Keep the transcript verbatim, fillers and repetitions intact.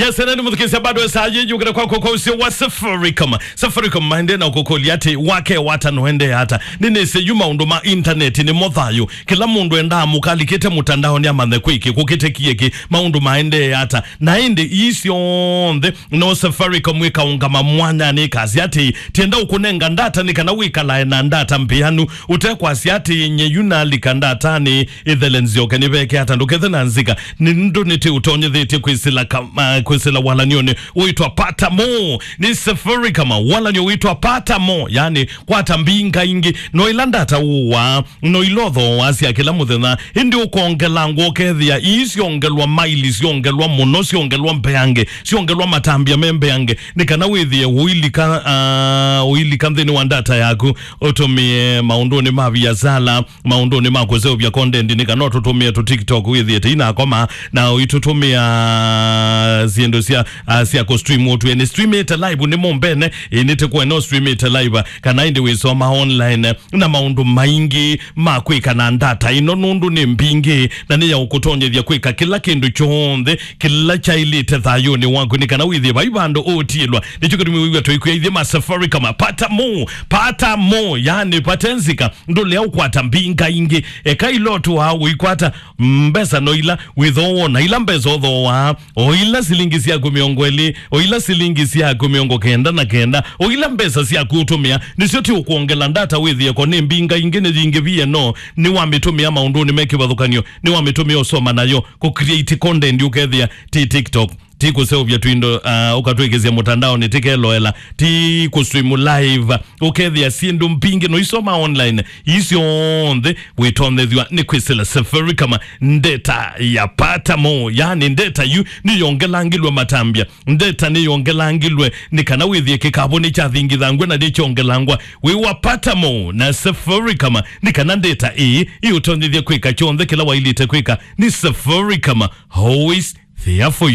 Yes, ene nĩ mũthukĩĩsya bado saa yĩ yũkĩte kwako kwa ũsio wa Safaricom. Safaricom maende na kũkũlya atĩ wake wata noende ata. Nĩnĩsĩ yu maũndũ ma intaneti nĩmo thayũ. Kĩla mũndũ endaa mũkalikĩte mũtandaonĩ amanye kwĩkĩ, kũkĩte kĩekĩ, maũndũ maendee ata. Na ĩndĩ ii syonthe no Safaricom ĩkaũngama mwanyanĩ ĩkasya atĩ, tienda ũkũnenga ndata nĩ kana wĩkalae na ndata mbĩanu, ũtekwasya atĩ nye yu nalika ndatanĩ ĩthele nzyoke nĩveke ata, ndũkethe na nzika, nĩndũ nĩtĩ ũtonyethĩtye kwĩsĩla ka-, ah, kwĩsĩla walany'onĩ wĩtwa Pata More. Nĩ Safaricom, walany'o wĩtwa Pata More, yani kwata mbinga ingĩ, no ila ndata ũwaa, no ila ũthooaa sya kĩla mũthenya, ĩndĩ ũkongelangwa ũkethĩa ii syongelwa maili, syongelwa mũno, syongelwa mbeange, syongelwa matambya me mbeange, nĩ kana wĩthĩe ũilika, ah, ũilika nthĩnĩ wa ndata yaku, ũtũmĩe maũndũnĩ ma viasala, maũndũnĩ ma kũseũvya content, nĩ kana ũtũtũmĩe tũ TikTok wĩthĩe tĩ inakoma, na ũitũtũmĩa syĩndũ sya, ah, sya kũ stream ũtwĩe nĩ streamĩte live nĩ mũmbene, ĩ nĩ tĩkwene ũ streamĩte live, kana ĩndĩ wĩsoma online, na maũndũ maingĩ ma kwĩka na ndata ĩno, nũndũ nĩ mbingĩ, na nĩ ya ũkũtonyethya kwĩka kĩla kĩndũ kyonthe kĩla kyaĩlĩte thayũnĩ waku, nĩ kana wĩthĩe vai vandũ ũũtiĩlwa. Nĩkyo kĩtumi wĩw'a tũikwĩa ithyĩ ma Safaricom, Pata More, Pata More, yani pate nzika, ndũlea ũkwata mbinga ingĩ. Eka ila ũtũaa ũikwata mbesa no ila wĩthooa, na ila mbesa ũthooaa, o ila silingi syaku mĩongo ĩlĩ, o ila silingi syaku mĩongo kenda na kenda, o ila mbesa syaku ũtũmĩa, nĩsyo ti ũkwongela ndata wĩthĩe ko nĩ mbinga ingĩ nĩ yingĩ vieno, nĩwamĩtũmĩa maũndũnĩ me kĩvathũkany'o, nĩwamĩtũmĩa ũsoma nayo, kũ create content ũkethĩa ti TikTok, ti kũseũvya twindo, ah, ũkatwĩkĩsya mũtandaonĩ, ti keloela, ti kũ stream live, ũkethĩa syĩndũ mbingĩ no isoma online, ii syonthe wĩtonyethw'a nĩ kwĩsĩla Safaricom. Ndeta ya Pata More, yani ndeta yu nĩyongelangilwe matambya, ndeta nĩyongelangilwe nĩ kana wĩthĩe kĩkavũ nĩkyathingithangw'a na nĩkyongelangwa wĩ wa Pata More na Safaricom, nĩ kana ndeta ĩĩ ĩũtonyethye kwĩka kyonthe kĩla waĩlĩte kwĩka. Nĩ Safaricom, always there for you.